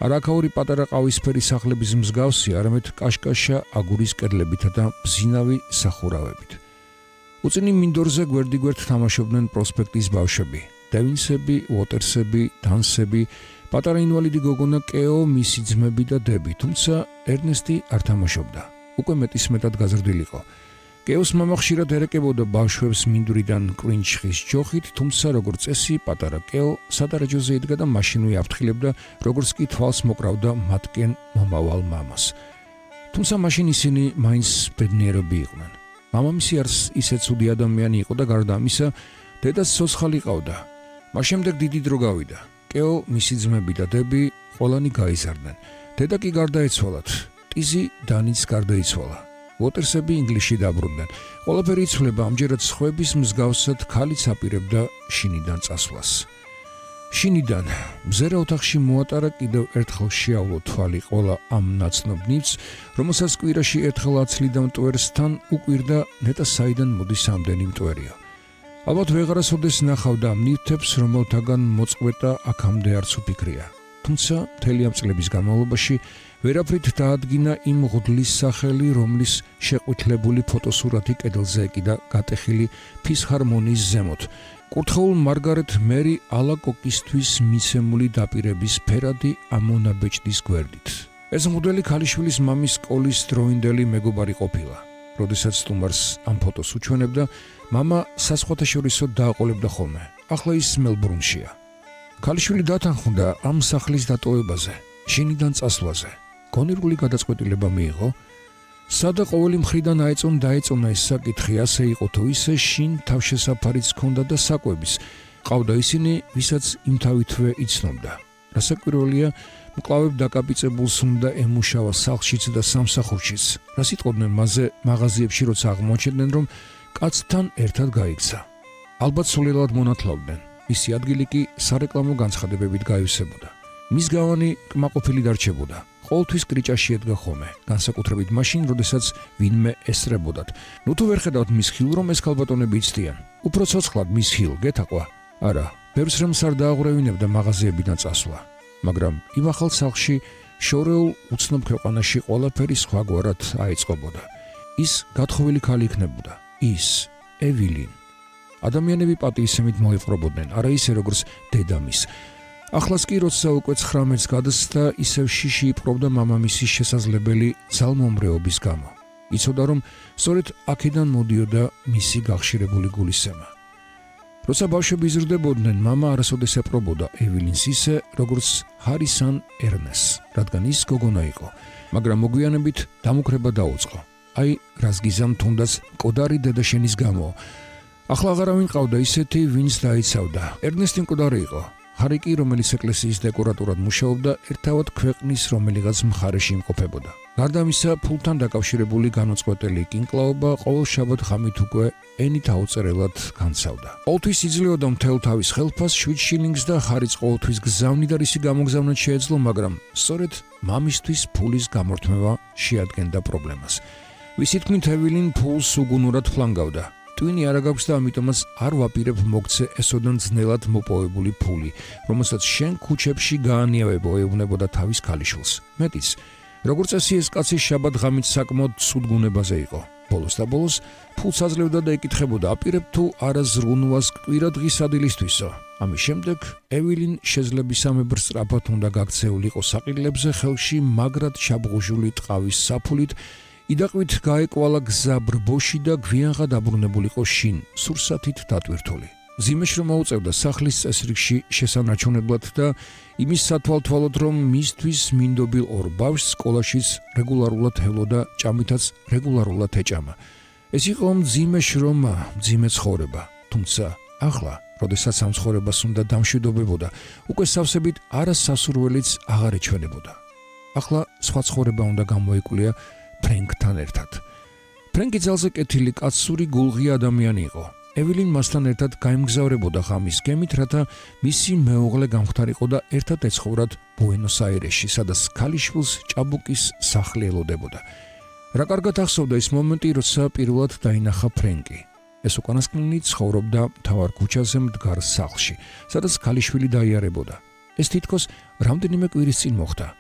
არაქაური პატარა ყავისფერი სახლების მსგავსი, არამედ კაშკაშა აგურის კედლებითა და მბზინავი სახურავებით. უწინი მინდორზე გვერდიგვერდ თამაშობდნენ პროსპექტის ბავშვები, დევინსები, უოტერსები, დანსები, პატარა ინვალიდი გოგონა კეო, მისი ძმები და დები, თუმცა ერნესტი არ თამაშობდა. უკვე მეტისმეტად გაზრდილიყო. კეოს მამა ხშირად ერეკებოდა ბავშვებს მინდვრიდან კვინჩხის ჯოხით, თუმცა როგორც წესი, პატარა კეო სადარაჯოზე იდგა და მაშინვე აფრთხილებდა, როგორც კი თვალს მოკრავდა მათკენ მომავალ მამას. თუმცა მაშინ ისინი მაინც ბედნიერები იყვნენ. მამამისი არც ისე ცუდი ადამიანი იყო და გარდა ამისა, დედაც ცოცხალი ყავდა. მას შემდეგ დიდი დრო გავიდა. კეო, მისი ძმები და დები ყველანი გაიზარდნენ. დედა კი გარდაეცვალათ. ტიზი დანიც გარდაიცვალა. უოტერსები ინგლისში დაბრუნდნენ. ყველაფერი იცვლება, ამჯერად სხვების მსგავსად ქალიც აპირებდა შინიდან წასვლას. შინიდან მზერა ოთახში მოატარა, კიდევ ერთხელ შეავლო თვალი ყველა ამ ნაცნობ ნივთს, რომელსაც კვირაში ერთხელ აცლიდა მტვერსთან, უკვირდა ნეტა საიდან მოდის ამდენი მტვერია. ალბათ ვეღარასოდეს ნახავდა ამ ნივთებს, რომელთაგან მოწყვეტა აქამდე არც უფიქრია. თუმცა მთელი ამ წლების განმავლობაში ვერაფრით დაადგინა იმ ღუდლის სახელი, რომლის შეყვითლებული ფოტოსურათი კედელზე ეკიდა გატეხილი ფისჰარმონიის ზემოთ. კურთხეულ მარგარეთ მერი ალაკოკისთვის მიცემული დაპირების ფერადი ამონაბეჭდის გვერდით. ეს მღვდელი ქალიშვილის მამის სკოლის დროინდელი მეგობარი ყოფილა. როდესაც სტუმარს ამ ფოტოს უჩვენებდა, მამა საზღვათაშორისო დააყოლებდა ხოლმე. ახლა ის მელბურნშია. ქალიშვილი დათანხმდა ამ სახლის დატოვებაზე, შინიდან წასვლაზე. გონირული გადაწყვეტილება მიიღო. სადა ყოველი მხრიდან დაეწონა ეს საკითხი, ასე იყო თუ ისე, შინ თავშესაფარიც ჰქონდა და საკვების. ყავდა ისინი, ვისაც იმთავითვე იცნობდა. რასაკვირველია, მკლავებ დაკაპიწებულს უნდა ემუშავა სახლშიც და სამსახურშიც. რა სიტყვდნენ მასზე მაღაზიებში, როცა აღმოაჩენდნენ, რომ კაცთან ერთად გაიქცა. ალბათ სულელად მონათლავდნენ. მისი ადგილი კი სარეკლამო განცხადებებით გაივსებოდა. მის გავანი კმაყოფილი დარჩებოდა. ყოველთვის კრიჭაში ედგა ხოლმე, განსაკუთრებით მაშინ, როდესაც ვინმე ესწრებოდათ. ნუ თუ ვერ ხედავთ მის ხილ, რომ ეს ქალბატონები იცდიან. უფრო ცოცხლად მის ხილ გეთაყვა? არა, ბევრს რამს არ დააღურევინებდა მაღაზიებიდან წასვლა. მაგრამ იმ ახალ სახლში, შორეულ უცნობ ქვეყანაში ყველაფერი სხვაგვარად აიწყობოდა. ის გათხოვილი ქალი იქნებოდა. ის, ევილინ. ადამიანები პატივისცემით მოეპყრობოდნენ, არა ისე როგორც დედამის. ახლაც კი, როცა უკვე 19 გადასცა, ისევ შიში იპყრობდა მამამისის შესაძლებელი ძალმომრეობის გამო. იცოდა, რომ სწორედ აქედან მოდიოდა მისი გახშირებული გულისცემა. როცა ბავშვები იზრდებოდნენ, მამა არასოდეს ეპყრობოდა ევილინს ისე, როგორც ჰარის ან ერნესს, რადგან ის გოგონა იყო, მაგრამ მოგვიანებით დამუქრება დაუწყო. აი, რას გიზამ თუნდაც მკვდარი დედაშენის გამო. ახლა აღარავინ ყავდა ისეთი, ვინც დაიცავდა. ერნესტი მკვდარი იყო. ჰარი კი, რომელიც ეკლესიის დეკორატორად მუშაობდა, ერთავად ქვეყნის რომელიღაც მხარეში იმყოფებოდა. გარდა ამისა, ფულთან დაკავშირებული განუწყვეტელი კინკლაობა ყოველ შაბათ ღამით უკვე ენით აუწერელად განცავდა. ყოველთვის იძლეოდა მთელ თავის ხელფას 7 შილინგს და ჰარიც ყოველთვის გზავნი და რისი გამოგზავნად შეეძლო, მაგრამ სწორედ მამისთვის ფულის გამორთმევა შეადგენდა პრობლემას. ვისი თქმით, ევილინ ფულს უგუნურად ფლანგავდა. ტვინი არ აქვს და ამიტომაც არ ვაპირებ მოგცე ესოდან ძნელად მოპოვებული ფული, რომელსაც შენ ქუჩებში გაანიავებო, ეუბნებოდა თავის ქალიშვილს. მეტიც, როგორც წესი ეს კაცი შაბათ ღამით საკმაოდ ცუდ გუნებაზე იყო. ბოლოს და ბოლოს ფულს აძლევდა და ეკითხებოდა, აპირებ თუ არა ზრუნვას კვირა დღის ადილისთვისო. ამის შემდეგ ევილინ შეძლებისამებრ სწრაფად უნდა გაქცეულიყო საყიდლებზე, ხელში მაგრად ჩაბღუჟული ტყავის საფულით, იდაყვით გაეკვალა გზა ბრბოში და გვიანღა დაბრუნებულიყო შინ, სურსათით დატვირთული. ზიმეშ რომ აუწევდა სახლის წესრიგში შესანარჩუნებლად და იმის სათვალთვალოდ, რომ მისთვის მინდობილ ორ ბავშვს სკოლაშიც რეგულარულად ელოდა, ჭამითაც რეგულარულად ეჭამა. ეს იყო მძიმე შრომა, მძიმე ცხოვრება. თუმცა ახლა, როდესაც ამ ცხოვრებას უნდა დამშვიდობებოდა, უკვე სავსებით არასასურველიც აღარ ეჩვენებოდა. ახლა სხვა ცხოვრება უნდა გამოიკვლია ფრენკთან ერთად. ფრენკი ძალზე კეთილი, კაცური, გულღი ადამიანი იყო. ევილინ მასთან ერთად გაემგზავრებოდა ღამის გემით, რათა მისი მეუღლე გამختარიყო და ერთად ეცხოვრათ ბუენოს-აირესში, სადაც ქალიშვილს ჭაბუკის სახლი ელოდებოდა. რა კარგად ახსოვდა ის მომენტი, როცა პირველად დაინახა ფრენკი. ეს უკანასკნელი ცხოვრობდა მთავარ ქუჩაზე მდგარ სახლში, სადაც ქალიშვილი დაიარებოდა. ეს თითქოს რამდენიმე კვირის წინ მოხდა.